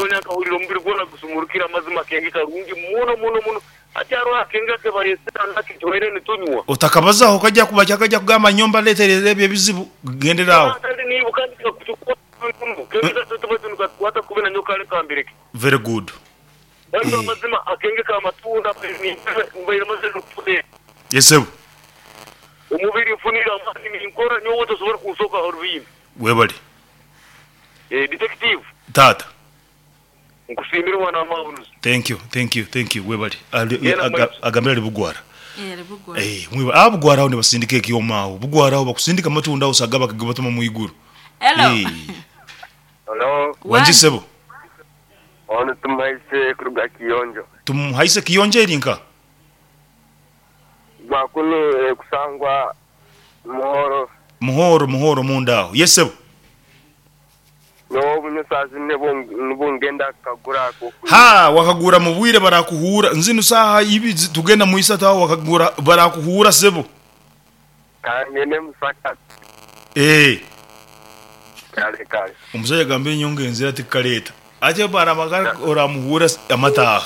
Nyowe nkahurira omubiri gwona gusumurukire amazima akenge karungi muno muno muno. Hati hariho akenge akebareesire hanu ake tubaire nitunywa. Otakabazaho kajja kuba kajja kugamba nyowe mbaleeteire ebyo ebizibu. Gendera aho. Kandi niiwe kandi kakutukwata kubi muno. Akenge katu baitu nikatukwata kubi nanyowe kare kambireke. Very good. Baitu amazima akenge ka matunda mbaire mazire nokufuna. Yes sebo. Omubiri nfunire amaani ninkora nyowe tosobora kunsoka aha rubimbi. Webale. Detective. Taata. Nkusiimire mwana wa Maabunuzi. Thank you, thank you, thank you webale. Genda mu maiso. Agambire ari Bugwara. Eh, ari Bugwara. Eh, mwiba ah Bugwara aho nibasindika ekyoma aho. Bugwara aho bakusindika amatunda aho saga bakagibatuma mwiguru. Hello. Eh. Hello, Wangi Wangi. sebo. ono Tumuhaise kuruga Kiyonjo. Tumuhaise Kiyonjo eri nka? Gwakunu ekusangwa Muhoro. Muhoro, Muhoro munda aho. Yes sebo. Nyowe obunywa saaha zinu nibwo ngenda kukagura ak'okunywa. Ha, wakagura mu bwire barakuhuura. Nzinu saaha ibi tugenda mu isatu aho wakagura barakuhuura sebo. Kangende Musaka. Eeh. Kale kale. Omusaija agamba enyonga enzira tikukaleeta. Ati baramagara oramuhuura amataaha.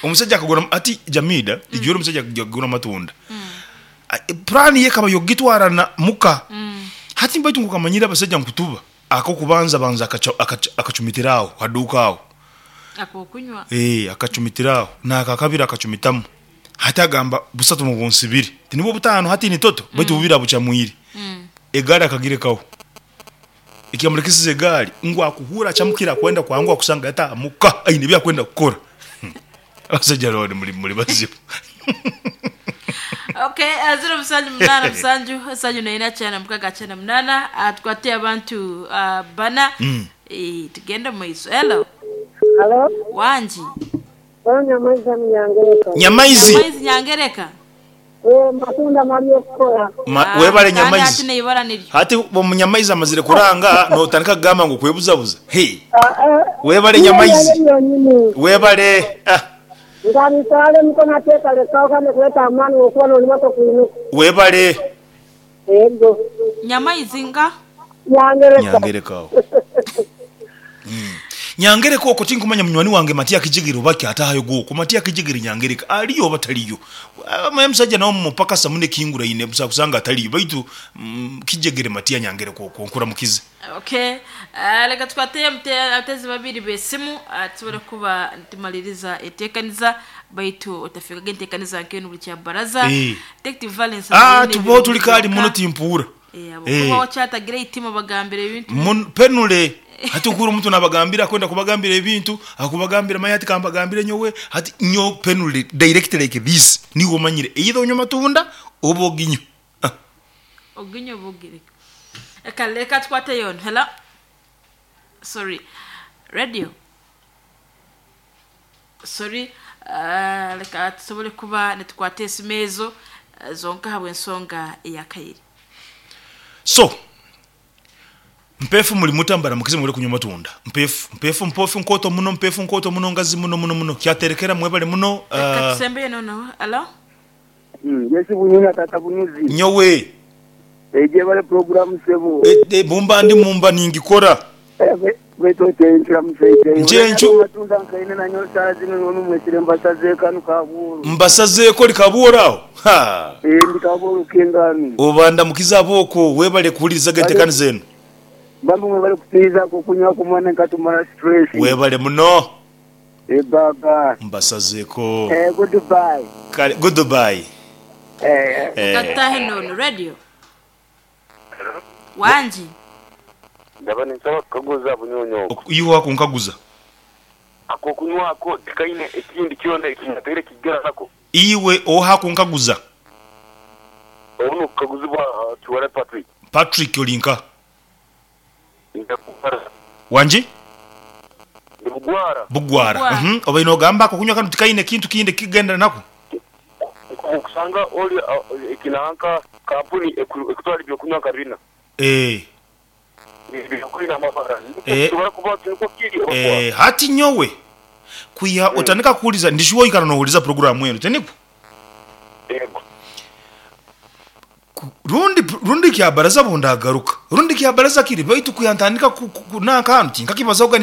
Omusaija akagura ati Jamida, ijwire omusaija akagura amatunda. Puraani ye ekaba y'okugitwarana muka. Hati baitu ngu okamanyire abasaija nkutuba, ak'okubanza abanza akacumitira agho ha duuka agho. Ak'okunywa. Eeh, akacumitira agho. N'akakabiri akacumitamu. Hati agamba busatu mubunsibire. Tinibwo butaano hati ni toto, baitu bubiri abucamwire. Egaari akagirekaho. Ekyamurekesize egaari ngu akuhuura acamukire akwenda kwanguha akusanga yataaha muka aine ebi akwenda kukora. Abasaija lord muri muri bazibu. Okay, ziro musanju munana musanju nsanju na ina kyenda mukaga kyenda munana tukwate abantu bana eh, tugende mu maiso. Hello. Halo, Wangi. Ono Nyamaizi Nyangereka. Nyamaizi. Nyamaizi Nyangereka. Eh, matunda mali okukora. Ma, webale Kandi hati Nyamaizi. neibara niryo. Hati omunyamaizi amazire kuranga notandika kugamba ngu kwebuzabuza. Hey. Ah, eh. Webale Niyo Nyamaizi. yonyini. Webale. Ah. Nga mikono ateeka lekawo kandi kuleta amaani okuba n'olimato kwinuka. Webale. Ego. Nyamaizi nga Nyangereka. Nyangereka aho. Nyangereka okwo tinkumanya munywani wange Matia Kijigiri oba kyatahayo gwokwo. Matia Kijigiri Nyangereka aliyo oba taliyo. Amaye omusajja nawe mumupakasa muno ekinguraine busa kusanga ataliyo baitu Kijegere Matia Nyangereka okwo nkuramukize. Okay, leka tukwate abatezi babiri b'esimu tusobole kuba nitumaliriza enteekaniza baitu otafikaga enteekaniza nk'enu buri kya baraza. Eh. Detective Valence Ah, aine tubaho tuli ebirungi kaali byonka. muno timpuura. Eh, ahabw'okuba wakyatagira eitima bagambira ebintu. Penule hati okura omuntu nabagambira akwenda kubagambira ebintu akubagambira manya hati kambagambire nyowe hati nyo penule direct like this niwe omanyire either onywe amatunda oba oginywe. Ah. Oginywe oba ogireke. Eka leka tukwate yono. Hello. Sorry. Radio. Sorry. Leka tusobole kuba nitukwata esimu ezo zonka ahabw'ensonga eya kairi. So, mpeefu muri muta mbaramukize mwebale kunywa amatunda. Mpeefu, mpeefu mpoofu nkooto muno, mpeefu nkooto muno, ngazi muno muno muno. Kyaterekera mwebale muno. Leka tusembeyo nono. Hello. Yes Bunyuna tata Bunuzi. Nyowe. Eje bale program sebo. Mumba ndi mumba ningikora. Baitu otenkira musaija. Njenchu. Matunda nkaine na nyowe saaha zino noonu mwesire mbasazeeko anu Kabuuru. Mbasazeeko ori Kabuuru aho? Ha. Eh, ndi Kabuuru k'engami. Oba ndamukize ab'okwo webale kuhuririza ge enteekaniza enu. Bambi mwebale kutwizaku okunywa ku mwana nkatumara stress. Webale muno. Eh baba. Mbasazeeko. Eh goodbye. Kale goodbye. Eh. Eh. Katutahe noonu radio. Wangi. Ndaba ninsaba kukaguza bunyonyi obwo. Iwe wakunkaguza. Ak'okunywa ako tikaine ekindi kyona ekinyateire kigera nako. Iwe oha kunkaguza? Obu n'okukaguzibwa Kiwala Patrick. Patrick ori nka? Ndi Bugwara. Wangi? Ndi Bugwara. Bugwara. Bugwara. Obaire nogamba ak'okunywa kanu tikaine kintu kindi ekikugendera nako? Okusanga ori eki nanka kampuni ekutwara eby'okunywa nka bina. Eeh. Ebyokunywa amabara. Eh. Nikisobora kuba nikwo kiri oba Eh, hati nyowe kwiha otandika kuhuriza ndi shuwa oikara nohuriza puroguramu enu tinikwo? Yego. Rundi rundi kyabaraza bundagaruka rundi kyabaraza kiri baitu kwiha ntandika nanka hanu tinkakibazahoga.